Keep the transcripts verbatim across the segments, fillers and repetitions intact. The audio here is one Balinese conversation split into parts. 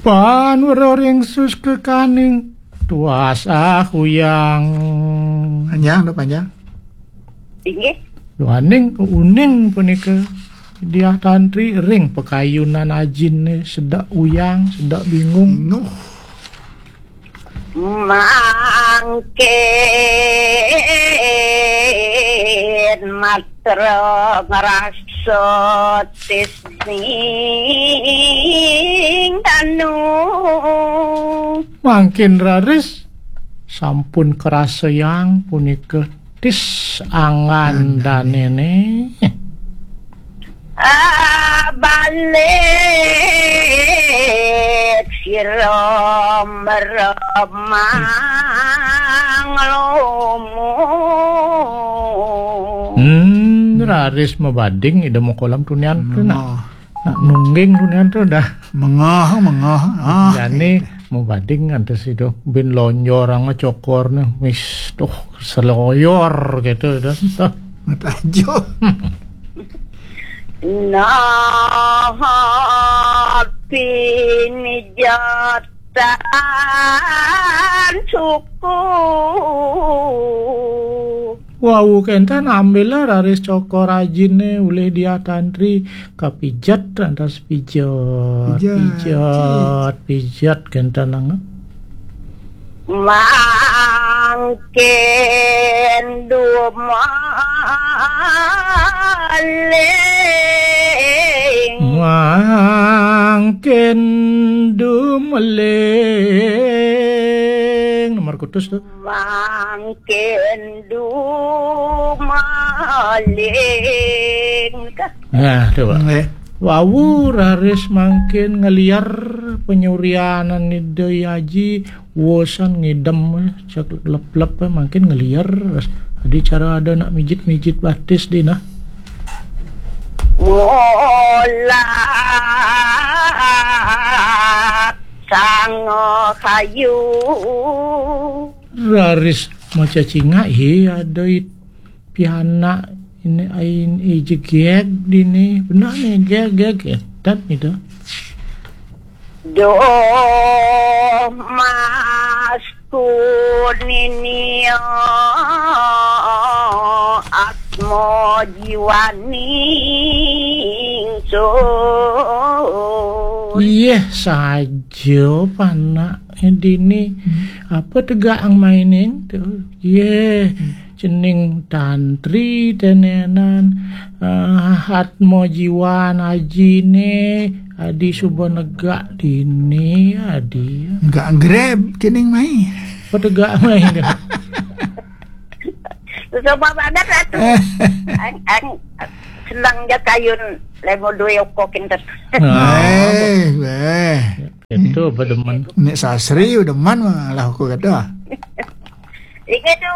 Pan wero ring sus kekaning tuas ah uyang. Panjang to, panjang. Inggih. Duaning uning punika Diah Tantri ring pakayunan ajine sedek uyang, sedek bingung. Bingung. Mangkin matra ngrasa tisning danu. Mangkin raris sampun karasayang punika tis angan danene. Ah, balik sira meremang lomo. Hmm, raris mabading Ida Moko Alam tunian tu nak. Nak nungging tunian tu dah. Mengah, mengah. Ah, jani mabading antes itu bin lonjor anga cokorne. Wis tuh seloyor gitu dah. Tuh. Matajo. Nah, pinijatan suku. Wau kenten ambil raris cokor ajine ulih Diah Tantri kapijet antas pijet. Pijet. Pijet, pijet kenten nang. Mangkin dumaling. Mangkin dumaling. Nomor kutus tu. Mangkin dumaling. Nah, coba. Nggih. Wau raris mangkin ngeliar penyurianan Ida Aji, wosan ngidem cek lep-lep mangkin ngeliar. Adi cara ada nak mijit-mijit batis dina. Molat sang kayu. Raris maca cingak, he, ada it-, pianak ini ain ijegeg dini. Benar nih, geg, geg, edan itu. Doh mas kunini atmo jiwaning sun. Iya saja panak dini. Hmm. Apa tegak ang mainin tu? Iya. Hmm. Cening tantri tenenan, eh, atma jiwan ajine, adi suba negak dini, adi. Negak grab cening mai. Apa tegak mai tu? Susah banget, Ratu. Ang, ang, senang ja kayun lemo duwe oko kinten. Ah. Eh, eh. Itu apa demen? Nek sasri udah man malah aku kata. Iki tu,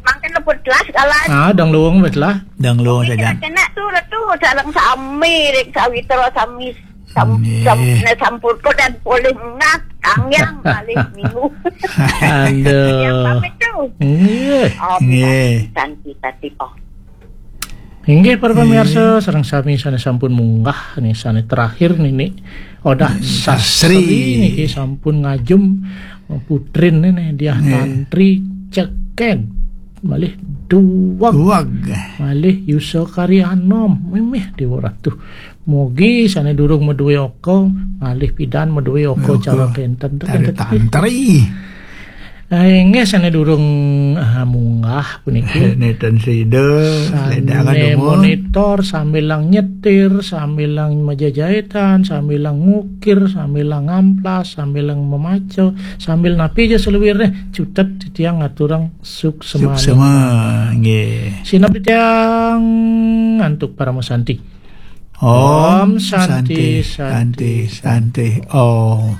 mangkin lebut telas kalan. Ah, dang luwung wis lah. Dang luwung saja. Kena tu, Ratu, sareng sami, ring sawitra sami, sam-, nggih. Sam-, ne sampurna dan polih munggah, kangyang malih minggu. Aduh. Yang pamit tu. Nggih. Oh, nggih. Santi, santi, oh. Inggih, para pamirsa, sareng sami sane sampun munggah nih, sane terakhir nini Odah Sastri. Sastri niki sampun ngajum putrin nini Diah Tantri ceked malih duweg. Duweg. Malih yusa karyanom mimih Dewa Ratu. Mugi sane durung maduwe oko malih pidan maduwe oko cara kenten. Tari tantri. Ah, inggih sane durung, ah, munggah puniki. Neten sida, sane ledangan dumun. Monitor, sambilang nyetir, sambilang majajahitan, sambilang ngukir, sambilang ngamplas, sambilang memaca, sambil napi aja selewirne, cutet titiang ngaturang suksema. Suksema, nggih. Sineb titiang antuk parama santi. Om Santi, Santi, Santi, Santi, Om.